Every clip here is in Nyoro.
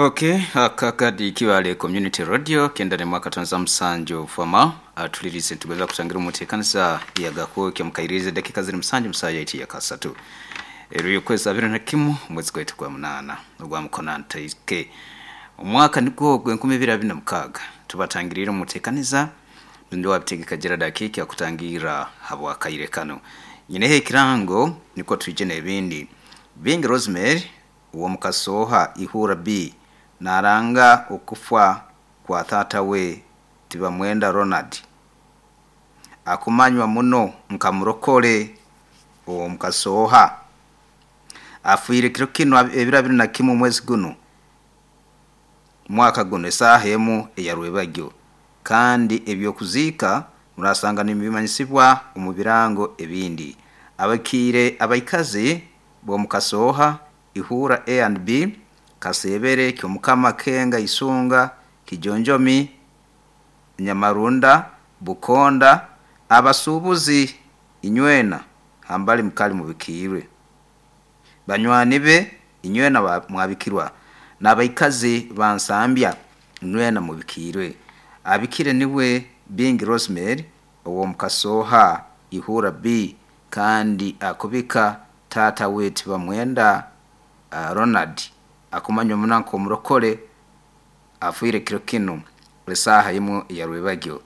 Okay, akakadi Kibale Community Radio 97.7 fama atulirize ntugeza kutangira umutekanisa yagako mkairize dakika ziri musanju musaya iti yakasatu ero yokwezi 21 mwezi gwetu gwa munana ogwa mukona ntaike omwaka nigwo gwe 2026 tubatangirira umutekaniza ndo wabitegeka Gerard Akiki akutangira habwa kaire kano nyinehe ikirango niko tuje n'ebindi Bingi Rosemary uwo mukasoha ihura B naranga okufa kwa tata we Tibamwenda Ronald akumanywa muno nkamurokole uwo mukasoha afuire kiro kino ebiro 21 mwezi guno mwaka guno esaha emu eyarwebagyo kandi ebyokuzika murasanga nibimanyisibwa omu birango ebindi abakiire abaikazi bo mukasoha ihura A and B kasebere kyomukama kenga isunga kijonjomi nyamarunda bukonda abasubuzi inywena hambali mukali mubikirwe banywani be inywena mwabikirwa n'abaikazi bansambya inywena mubikirwe abikire niwe Bingi Rosemary uwo mukasoha ihura B kandi akubika tata we Tibamwenda Ronald akumanywa munanko omurokole afuire kiro kino esaha imwe yarwebagyo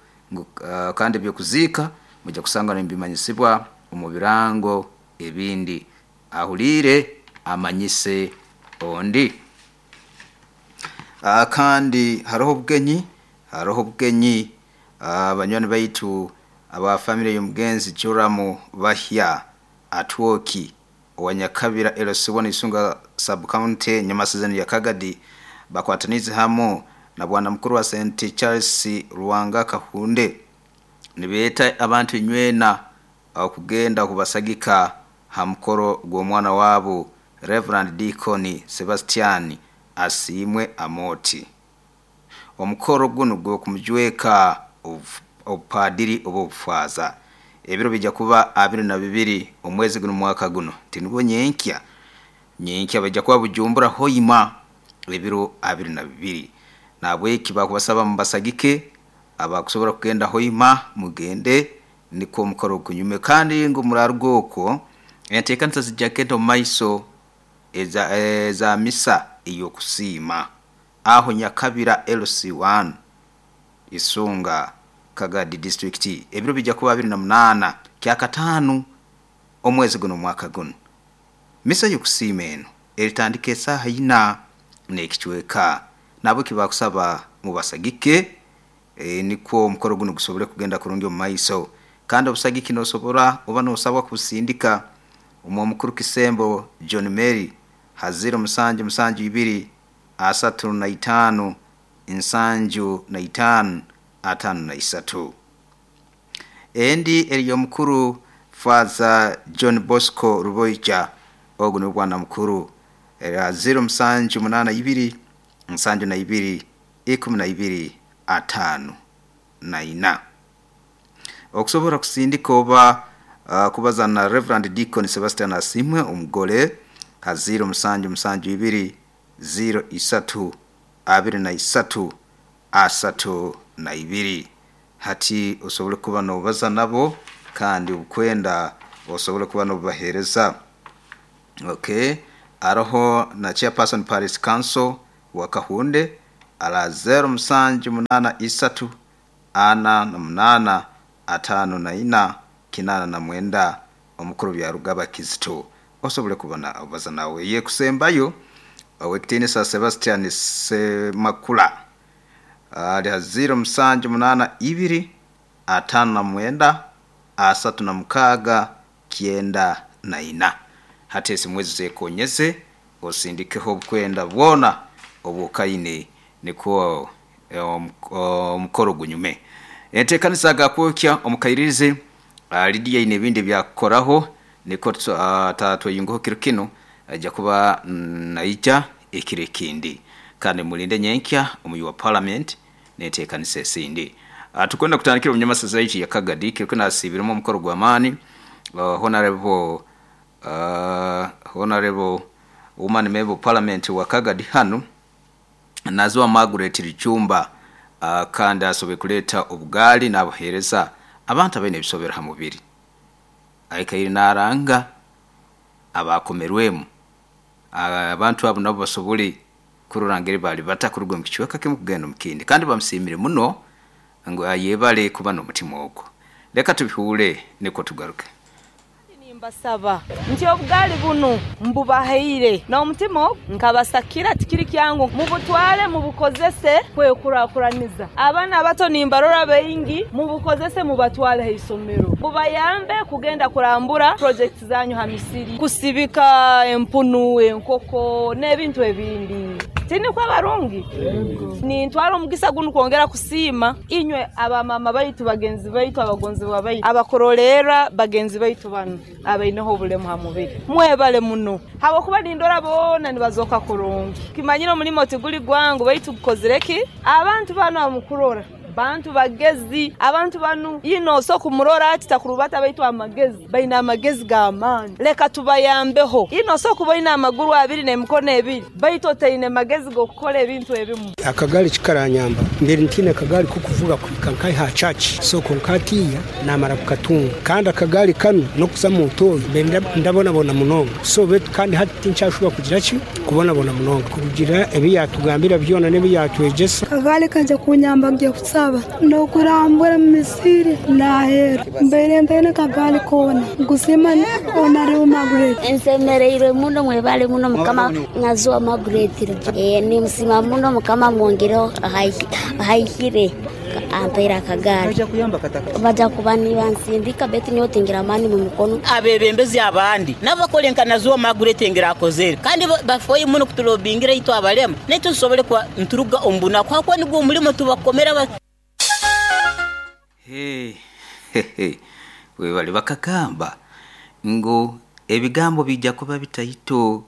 kandi byokuzika mujya kusanga nibimanyisibwa omu birango ebindi ahulire amanyise ondi. Kandi hariho obugenyi abanywani baitu aba family y'omugenzi Joramu Bahya Atwoki owanyakabira LC1 Isunga sub county Nyamasazani ya Kagadi bakwatanize hamo na bwana mukuru wa St Charles Ruwanga Kahunde nibeeta abantu inywena okugenda kubasagika ha mukoro gw'omwana wabo Reverend Deacon Sebastian Asimwe Amoti. Omukoro guno gw'okumujweka obupadiri oba obufaaza ebiro bijja kuba 22 omwezi guno mwaka guno tinubwo nyenkya bajja kuba Bujumbura Hoima ebiro 22 nabweki bakubasaba mubasagike abakusobora kugenda Hoima mugende niko omukoro gunyume kandi ngo murarugoko enteekanisa zijja kugenda omu maiso eza misa ey'okusiima aho Nyakabira LC1 Isunga Kagadi district ebiro bijja kuba 28 kyakataano omwezi guno mwaka guno. Misa y'okusiima eno eritandika esaaha ina n'ekicweka nabo kibakusaba mubasagike nikwo omukoro guno gusobole kugenda kurungi omu maiso kandi obusagiki nosobora oba nosabwa kusindika omwo mukuru Kisembo John Mary ha 0772 35 75 53. Endi eriyo mukuru Father John Bosco Ruboija ogu ni bwana mukuru 0782 72 12 54. Okusobora kusindika oba kubaza na Reverend Deacon Sebastian Asimwe omugole ha 0772 03 23 32 hati osobole kuba nobaza nabo kandi obukwenda osobole kuba nobubahereza. Okay, aroho na chairperson Paris Council wa Kahunde ala 0783 48 54 89 omukuru byarugaba Kizito osobole kubona obaza nawe ye kusembayo owekitinisa Sebastian Semakula ali 0782 59 36 94. Hati esimwezi zekonyeze osindikeho obukwenda bwona obukaine niko omukoro gunyume. Enteekanisa gakwokya omukairirize Lydia ine ebindi byakukoraho niko tatweyungaho kiro kino ajja kuba naija ekiro ekindi kandi mulinde nyenkya omuyi wa parliament neteekanisa esindi. Tukwenda kutandikira omunyamasaza yaitu ya Kagadi kiro kino asibiremu omukoro gw'amaani honorable woman member of parliament wa Kagadi hanu Naziwa Margaret Richumba kandi asoboire kuleeta obugaali n'abuheereza abantu abaine ebisobero ha mubiri. Aikaire n'aranga abakomerwemu abantu abo nabo basobole kurora ngeri bali bata kuruga omu kicweka kimu kugenda omu kindi kandi bamusiimire muno ngu ayebale kuba n'omutima ogwo. Leka tubihuule nukwo tugaruke. Kandi nimbasaba nti obugaali bunu mbubahaire n'omutima ogu nkabasakira, tikiri kyangu, mubutwale mubukozese kwekurakuraniza. Abaana abato nimbarora baingi, mubukozese mubatwale ha isomero, bubayambe kugenda kurambura purojekiti zanyu ha misiri, kusibika empunu, enkoko n'ebintu ebindi. Tinikwo abarungi? Nintwara omugisa gunu kwongera kusiima inywe abamama baitu, bagenzi baitu, abagonzebwa baitu, abakurolerra bagenzi baitu banu abaineho obulemu ha mubiri. Mwebale muno habwokuba nindora boona nibazooka kurungi. Kimanyire omulimo tiguli gwangu baitu gukozire ki? Abantu banu abamukurora bantu bagezi, abantu banu ino osobola kumurora ati takurubata baitu amagezi, baine amagezi g'amaani. Leka tubayambeho. Ino osobola kuba oine amaguru abiri n'emikono ebiri baitu otaine magezi g'okukora ebintu ebimu. Akagaari kikaranyamba mbere ntiine akagaari k'okuvuga kuhika nkahi aha church, so kwonka hatiiya naamara kukatunga. Kandi akagaari kanu n'okuza omu ntooyi mbaire ndabonabona munonga, so beitu kandi hati tinkyashuba kugira ki? Kubonabona munonga. Kurugiirira ebi yaatugambira byona n'ebi yaatwegyesa. Akagaari kaija kunyamba ngiye kusaba n'okurambura omu misiri n'aheeru. Mbaire ntaine kagaari koona. Nkusiima Honourable Margaret. Nsemereirwe muno mwebale muno mukama Naziwa Margaret nimusiima muno mukama amwongereho ahaihire ampaire akagaari. Baja kuba nibansindika baitu nyowe tingira amaani mu mikono. Abebembezi abandi nabo bakole nka Naziwa Margaret engeri akozere kandi bafeyo muno kutulobingira itwe abalema naitwe tusobole kuba nituruga omu bunaku habwokuba nigwo omulimo tubakomera. Hey, hey, webale bakagamba ngu ebigambo bijja kuba bitaito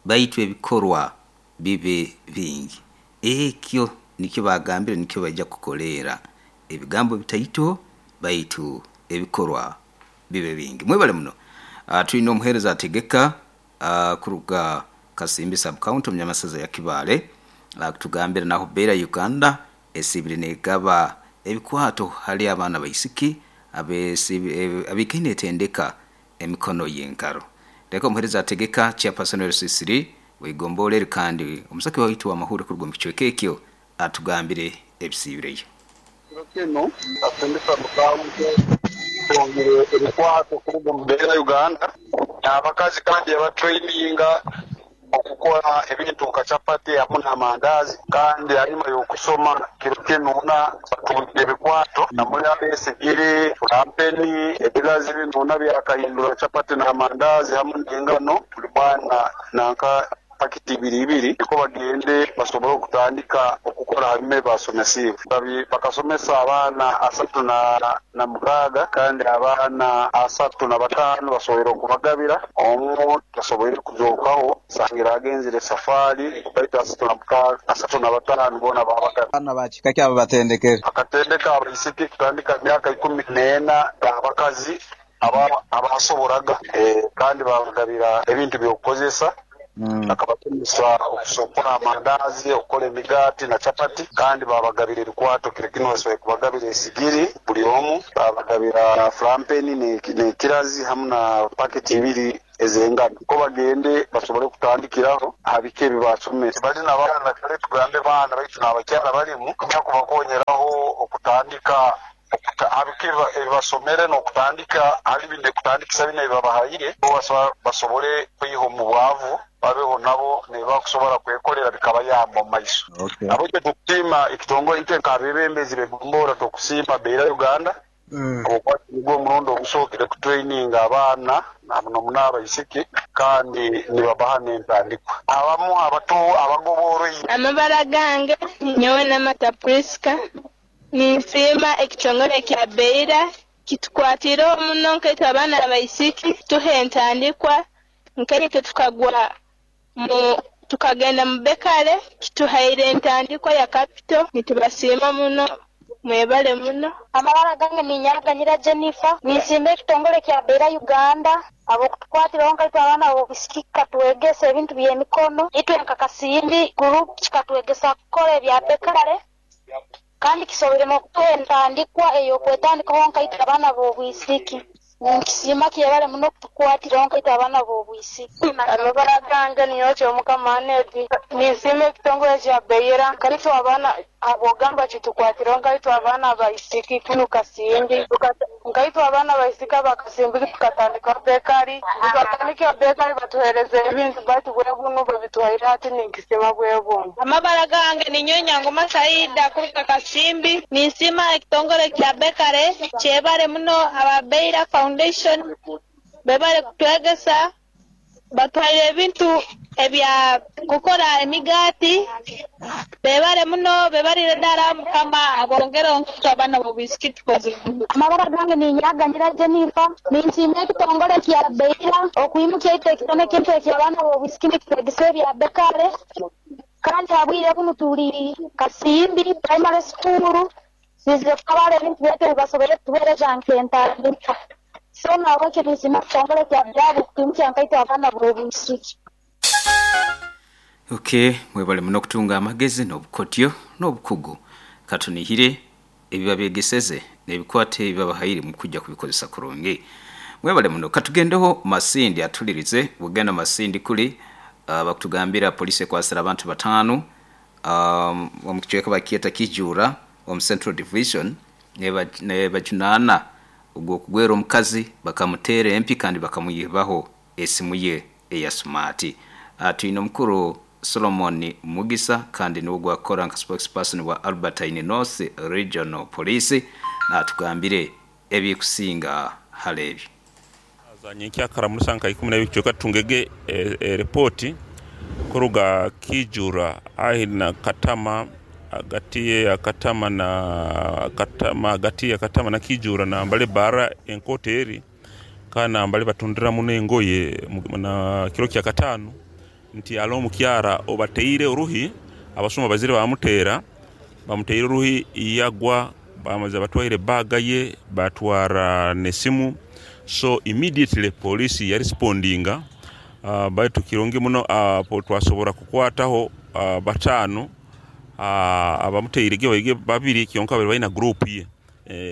baitu ebikorwa bibe bingi. Ekyo nikyo bagambire nikyo baija kukoleera. Ebigambo bitaito baitu ebikorwa bibe bingi. Mwebale muno. Twine omuheereza ategeka kuruga Kasimbi sub-county omu Nyamasaza ya Kibaale akutugambira naho Beera Uganda esiibire negaba ebikwato hali abaana abaisiki abaikaire netendeka emikono y'engaro. Leka omuheereza ategeka chairperson wa LC3 w'eigomborra eri kandi omusake waitu w'amahuure kuruga omu kicweka ekyo atugambire ebisiibireyo. Kiro kinu, Kasindika Musanju atungire ebikwato kuruga omu Beera Uganda n'abakazi kandi yabatraininga okukora ebintu nka chapati hamu n'amandazi kandi hanyuma y'okusoma kiro kinu batungire ebikwato namuli abesigiri, furampeni, ebilazi binu byakahindura chapati n'amandazi hamu n'engano buli mwana nanka pakiti ibiri ibiri niko bagende basobole okutandika okukora hanyuma ebibasomesiibwe. Bakasomesa abaana 36 kandi abaana 35 basoboire okubagabira, omu tasoboire kuzookaho sangira agenzire safari baitu 35 boona babagabira. Abaana ba kika ki abo batendekere? Akatendeka abaisiki kutandika myaka 14 abakazi abasoboraga kandi babagabira ebintu by'okukozesa. Akabasomesa okukora amandazi, okukora emigaati na chapati kandi babagabira ebikwato kiro kinu basoboire kubagabira esigiri buli omu, babagabira furampeni n'ekirazi hamu na paketi ibiri ez'engano ko bagende basobole kutandikiraho aha biki ebi basomere. Bali n'abaana kale tugambe baana baitu n'abakyara balimu kubakonyeraho okutandika aha biki ebibasomere n'okutandika hali bine kutandikisa bine ebibabahaire basobole kwiha omu bwavu babeho nabo nibakusobora kwekolera bikabayamba omu maiso. Nabwekyo tukusiima ekitongole itwe nk'abebembezi b'egombora tukusiima Beera Uganda habwokuba nigwo omurundi ogusookere kutraininga abaana muno muno abaisiki kandi nibabaha n'entandikwa. Abamu abato abagoboroire. Amabara gange nyowe Namata Priska ninsiima ekitongole kya Beera kitukwatireho muno nkaitwe abaana abaisiki tuha entandikwa nkaitwe tukagwa tukagenda mu bekare kituhaire entandikwa ya capital nitubasiima muno. Mwebale muno. Amabara gange ninyaganyira Jennifer, ninsimba ekitongole kya Beira Uganda, abokutukwatiraho nkaitwe abaana b'obwisiki kikatwegesa ebintu by'emikono, itwe nka Kasimbi group kikatwegesa kukora ebya bekare, kandi kisoboire n'okutuha entandikwa ey'okwetandikaho nkaitwe abaana b'obwisiki. Ninkisiima kyebale muno okutukwatiraho nkaitwe abaana b'obwisiki. Amabara gange niyo Omukama Anedi, ninsiima ekitongole kya Beira, nkaitwe abaana abogamba kitukwatiraho nkaitwe abaana abaisiki kunu Kasimbi, nkaitwe abaana abaisiki aba Kasimbi tukatandika bekari, tukatandika bekari batuhereza ebintu baitu bwebunu babituhaire hati ninkisiima bwebunu. Amabara gange ninyo Nyangoma Saida kuruga Kasimbi, ninsiima ekitongole kya bekare, kyebale muno aba Beira Foundation bebale kutwegesa, batwaire ebintu ebya kukora emigati, bebale muno, bebalire ddala Mukama abongere onkutu abaana b'obwisiki tukoze. Amabara gange ninyaganyira Jennifer, ninsiima ekitongole kya Beira okwimukia itwe ekitone kintu eky'abaana b'obwisiki nikitwegesa ebya bekare, kandi habwire bunu tuli Kasimbi primary school, sizire kukabala ebintu byaitu ebibasobole kutuheereza nk'entandikwa. So nahabwekyo ninsiima ekitongole kya Beira okwimukia nkaitwe abaana b'obwisiki. Okay, mwebale muno okutunga amagezi n'obukotyo n'obukugu. Katunihire ebibabegeseze n'ebikwate ebibabahaire mu kujja kubikozesa kurungi. Mwebale muno. Katugendeho Masindi atulirize. Bugenda Masindi kuli bakutugambira polisi ekwasira abantu 5 omu kicweka bakyeta Kijura omu Central Division nebajunaana ogw'okugwera omukazi bakamuteera empi kandi bakamwibaho esimu ye eya smart. Twine omukuru Solomon Mugisa kandi niwe gwakora nka spokesperson wa Albertine North Regional Police natugambire ebikusinga hali ebyo. Nyenkyakara muri saa nka 12 kicweka tungege eripoti kuruga Kijura ahi na Katama agati ya Katama na Katama agati ya Katama na Kijura na mbale bara enkoto eri kandi nambale batundira muno engoye na kiro kya katano nti alo omukyara obateire oruhi abasuma bazire bamuteera bamuteire oruhi yagwa bamaze batwaire baga ye batwara nesimu. So immediately polisi yarespondinga baitu kirungi muno twasobora kukwataho 5 abamuteire ge babiri kyonka bali balina group ye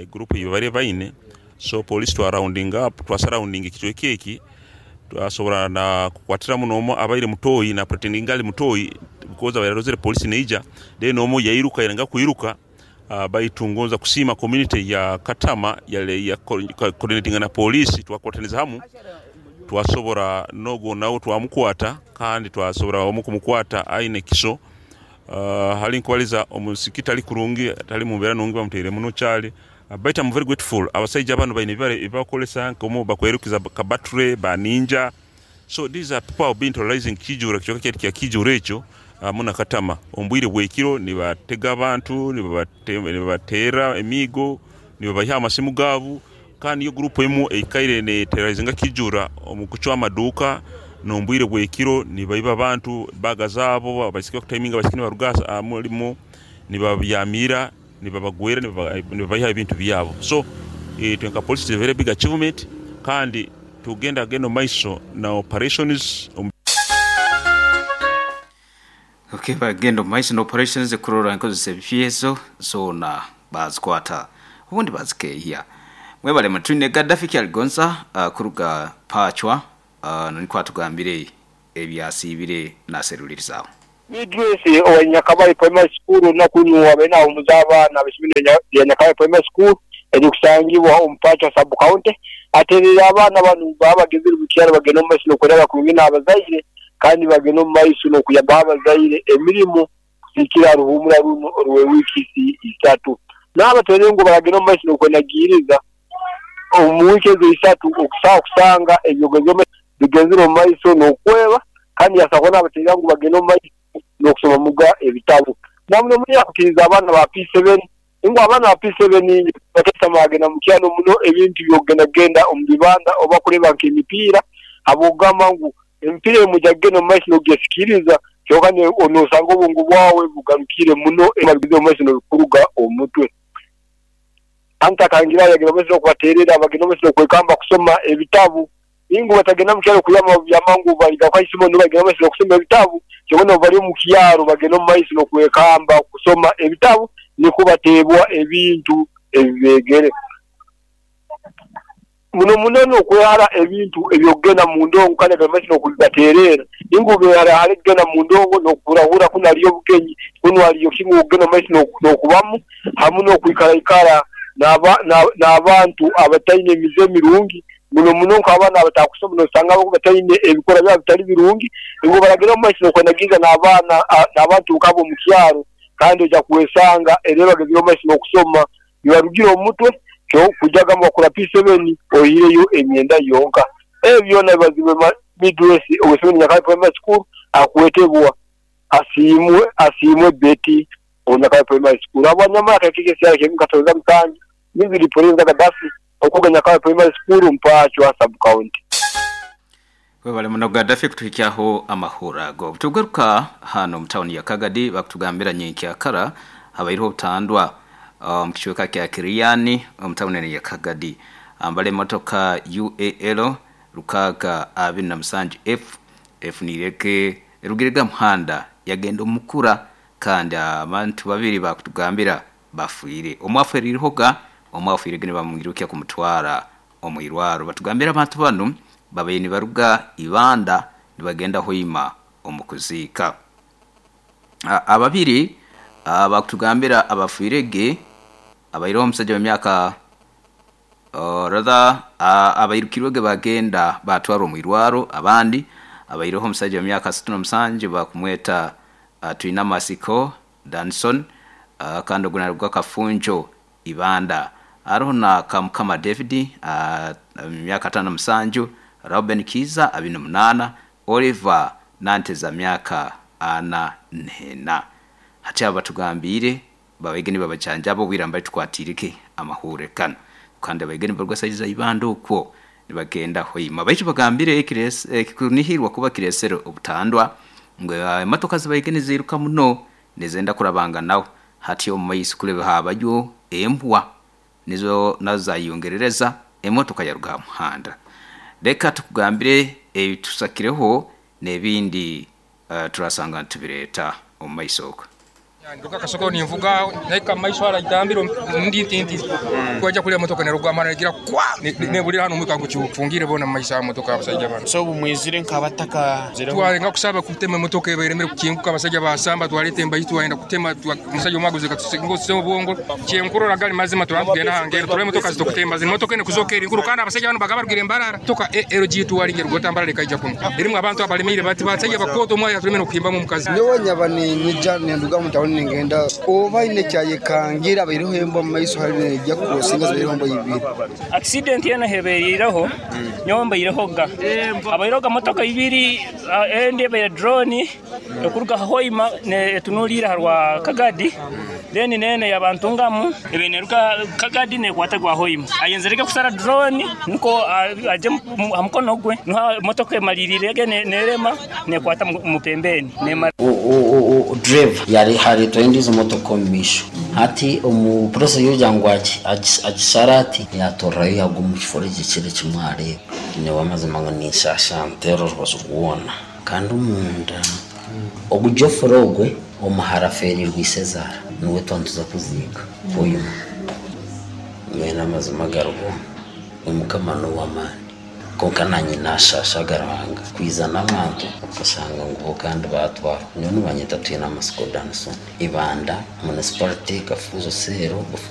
group ye bali baine. So polisi twa rounding up twa surrounding ekicweka eki twasobora na kukwatira muno omo abaire mutoyi na pretending ali mutoyi because abaire arozere polisi neija then omo yairuka yanga kuiruka. Baitu ngonza kusiima community ya Katama yale ya coordinating na polisi twakwataniza hamu twasobora nogo nawo twamukwata kandi twasobora omu kumukwata aine kiso. Hali nkwaliza omusikita ali kurungi atali mubera nungi bamuteire muno kyali. But I'm very grateful abasajja bano baine bibare bakolesa nkomo bakwerukiza kabattery ba ninja. So these are people who have been terrorizing Kijura kichoka kya Kijura ekyo muna Katama ombwire bwekiro nibatega abantu nibabatera emigo nibabaha amasimu gabu kandi yo group emu eikaire ne terrorizinga Kijura omukuchwa amaduka nombwire bwekiro nibaiba abantu bagazabo abasike kutiminga basikini barugasa mulimo nibabyamira nibabagwera nibabaha ebintu byabo. So twenka police is a very big achievement kandi tugenda geno maiso na operations. Okay, bagenda maiso na operations kurora nkozesa ebifyezo zona bazikwata ubundi bazikeya. Mwebale mutwine Gaddafi Kyaligonza kuruga Pachwa niko atugambire ebyasibire naserulirizaho. Idrisi owa Nyakabayi Primary School nakunywa bena omuzaba na bishimine ya Nyakabayi Primary School erikusangibwa omu Pachwa sub county aterera abaana banu babagezire bukyaro bagenda omu maiso n'okureba kurungi n'abazaire kandi bagenda omu maiso n'okuyamba abazaire emirimu kusikira ruhumura runo orwe wiki 3 n'abatere ngu baragenda omu maiso n'okwenagiriza omu wiki ezo 3 okusanga ebyogezo bigezire omu maiso n'okweba kandi yasabwa n'abaterera ngu bagenda omu maiso n'okusoma muga ebitabo. Namuno muri yakukiriza abaana ba P7 ingo abaana ba P7 bakesama bagenda mu kyalo muno ebintu byogenda omu bibanda oba kureba nk'emipiira abogamba ngu emipiira emujageno mu maiso n'ogesikiriza kyokka onosanga obwongo bwawe bugarukire muno emabigize omu maiso n'okuruga omutwe. Anta kangira yagenda omu maiso n'okubateerera, bagenda omu maiso n'okwekamba kusoma ebitabu. Ingu batagenda mu kyaro kuyama byamangu baliga kwaisimo nibo bagenda omu maiso n'okusoma ebitabu. Kyobona obu bali omu kyaro bagenda omu maiso n'okwekamba kusoma ebitabu nikwo bateebwa ebintu ebibeegere. Muno muno n'okwehara ebintu eby'okugenda mu ndongo kandi agenda omu maiso n'okubibateerera. Ingu beehara hare kugenda mu ndongo n'okuhurahura kunu haliyo obugenyi, kunu haliyo ki okugenda omu maiso n'okubamu hamu n'okwikaraikara n'abantu abataine emize mirungi. Muno muno nk'abaana abatakusoma noosanga bo bataine ebikorwa byabo bitali birungi, ngu baragenda omu maiso n'okwenagiiza n'abaana n'abantu nk'abo omu kyaro kandi oija kwesanga era bagenzere omu maiso n'okusoma bibarugire omu mutwe kyo kwija kugamba wakora P7 oihireyo emyenda yonka. Ebyo byona bibazibwe midresi ow'eisomero Nyakabale Primary School akwetebwa Asiimwe Betty owa Nyakabale Primary School. Habwanyamara akaikiki ekyaro kyaimu Katonza Musanju, Miziri Pulinza Gaddafi okuruga Nyakabale Primary School Mpaachwa Sub-County. Webale muno Gaddafi kutuhikyaho amahura ago. Tugaruka hano omu tawuni ya Kagadi bakutugambira nyenkyakara habaireho obutandwa omu kicweka kya Kiriani omu tawuni eno ya Kagadi. Ambala emotoka UAL 627 F efuniirege erugirege aha muhanda yagenda omu mukura kandi abantu babiri bakutugambira bafiire. Omwe aferiirehoga, omwe afiirege nibamwirukya kumutwara omu irwaro. Batugambira abantu banu babaire nibaruga Ibanda nibagenda Hoima omu kuziika. Ababiri bakutugambira abafiirege abaireho omusaija w'emyaka rather abairukirwege bagenda batwarwa omu irwaro abandi abaireho omusaija w'emyaka 67 bakumweta Twinamasiko Danson kandi ogu naruga Kafunjo Ibanda. Haroho na Kamukama David myaka 57, Rauben Kiiza 28, Oliver Nanteza myaka 44. Hati abo batugambiire babaige nibabajanjaba obwire mbali tukwatiirege amahuure ganu. Kandi abaige nibaruga saidi za Ibanda okwo nibagenda Hoima. Baitu bagambire ekikunihirwa kuba kireesere obutandwa ngu emotoka zibaige niziiruka muno nizenda kurabanganaho. Hati omu maiso kulebe habayo embwa nizo nazo zayeyongerereza emotoka yaruga aha muhanda. Leka tukugambire ebitusakireho n'ebindi turasanga nitubireeta omu maiso okwo. Nduga Kasokero ninvuga nahika mu maiso hara itambiro ndi nti nti kwaija kulya motoka neruga amara negira kwa nebulira hanu omwika gukyufungire bona mu maiso aha motoka abasaija banu. So obu mwizire nk'abataka? Twalenga kusaba kutema emotoka ebaire emere kukinguka abasaija basamba twaleta embayi twayenda kutema omusaija omwe aguze katusingose obwongo kyenkurora gali mazima turaba tugenda aha ngero turole emotoka zitukutemba zinu motoka ene kuzoka eri nkuru kandi abasaija banu bakaba barugire Mbarara motoka ALG tuwalinge rugota Mbarara ekaija kunu erimu abantu abalemeire bati basaija bakooto omwaya tulemere n'okuhimbamu omukazi. Nyowe nyaba ninyija ninduga mu tauni ningenda oba haine ekyayekangira abaireho embwa mu maiso hali neija kukurosinga zibaireho embwa ibiri. Accident eno heberiireho nyowe mbairehoga. Habairehoga motoka ibiri, endi ebaire drone ekuruga Hoima etunuliire aha rwa Kagadi, then n'eno eya Ntungamu ebaire neruga Kagadi nekwata gwa Hoima. Ayenzirege kusara drone nukwo agye aha mukono gwe, niho motoka emaliriirege nerema nekwata mu pembeni. Driver yaretwayo endiijo motoka omu maisho. Hati omu process y'okugira ngu agisare ati, yatorerayo yagwa omu kifo ekyo eki mwareeba. Nyowe amazima ngu ninshasha nteera orubaju rwona. Kandi omunda ogu Geoffrey ogwe omuhara afeereirwe ishezaara niwe twaba nituza kuziika Hoima. Mbwenu amazima agariho Omukama n'ow'amaani. Kwonka naanye naashaashaga Ruhanga kwija n'abantu okashanga ngu bo kandi baatwarwa. Nyowe nibanyeta Twinamasiko Danson, Ibanda Municipality, Kafunzo Cell.